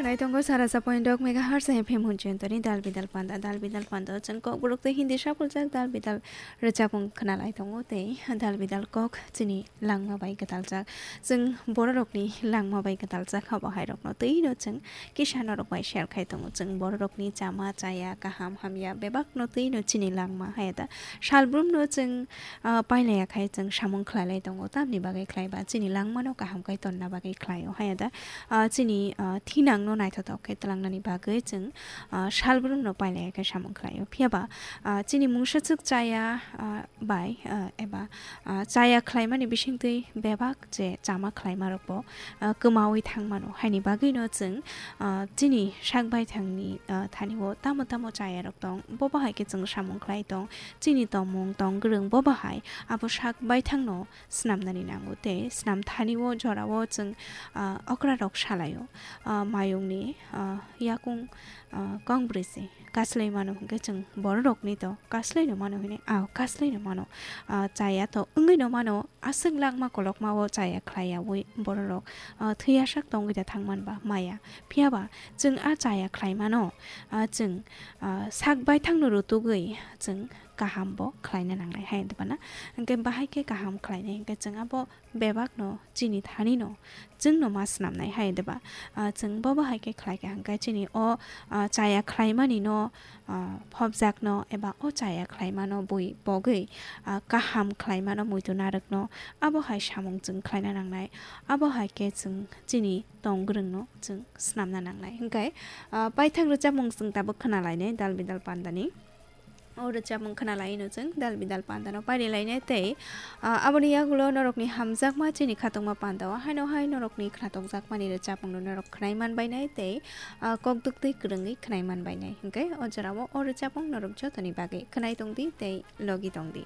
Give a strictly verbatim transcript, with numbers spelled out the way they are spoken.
Naitongo sara sa point dok megahertz F M hunchentoni dal bidal panda, dal bidal panda chwng kok borok tei Hindi saphuljak dal bidal rwchapung khwnalai tongo tei dal bidal kok chini langma bai kwtaljak. Chwng bororokni langma bai kwtaljak abo hairokno twino chwng kisa norok bai share khai tongo. Chwng bororokni chama chaya kaham hamya bebakno twino chini langma haya da salbrumno chwng, ah, pailaya khai chwng samung khlailai tongo. Tamni bagwi khlai ba chini langmano kaham khai tonna bagwi khlaio haya da, ah, chini, ah, thinangno naithothok khe twlangnani bagwi chwng, ah, salbrumno pailaya khai samung khlaio. Phiya ba, ah, chini mungsachwk chaya, ah, bai, ah, eba, ah, chaya khlaimani bisingtwi bebak je chama khlaimarokbo, ah, kwmaui thangmano. Haini bagwino chwng, ah, chini sak baithangni, ah, thani-o tamo tamo chayarok tong, bo bahai khe chwng samung khlai tong, chini tongmung tong gwrwng bo bahai abo sak baithangno swnamnani nango tei swnam thani-o jorao chwng, ah, okrarok salaio, ah, mayungni, ah, yakung, ah, kong brwi se kaslai mano hwnkhe chwng bororokni to kaslai no mano hwnwi, ah, kaslai no mano, ah, chaya to wngwi no mano, aswk langma kolokma o chaya khlaiyaui bororok, ah, thwiyasak tongwi da thangman ba maya. Phiya ba chwng a chaya khlaimano, ah, chwng, ah, sak baithangno rutugwi chwng kaham bo khlaina nangnai hai hwnwi bana. Hwnkhe bahai khe kaham khlainai hwnkhe chwng abo bebakno chini thanino chwngno ma swnamnai hai hwnwi ba. Ah, chwng bo bahai khe khlai kha hwnkhe chini o, ah, chaya khlaimanino, ah, phobjakno eba o chaya khlaimano bui pogwi, ah, kaham khlaimano muitu narwkno abo hai samung chwng khlaina nangnai. Abo hai khe chwng chini tong gwrwngno chwng swnamna nangnai. Hwnkhe, ah, paithak rwchapmung chwng tabuk khwnalainai dal bidal pandani. O rwchapmung khwnalaino chwng dal bidal pandano pairilainai tei, ah, aboni yagulo norokni hamjakma chini khatungma pandao haino hai norokni khnatokjakmani rwchapmungno norok khwnai manbainai tei, ah, kokdwktwi kwrwngwi khwnai manbainai. Hwnkhe o jorao o rwchapmung norok jotoni bagwi khwnai tongdi tei logi tongdi.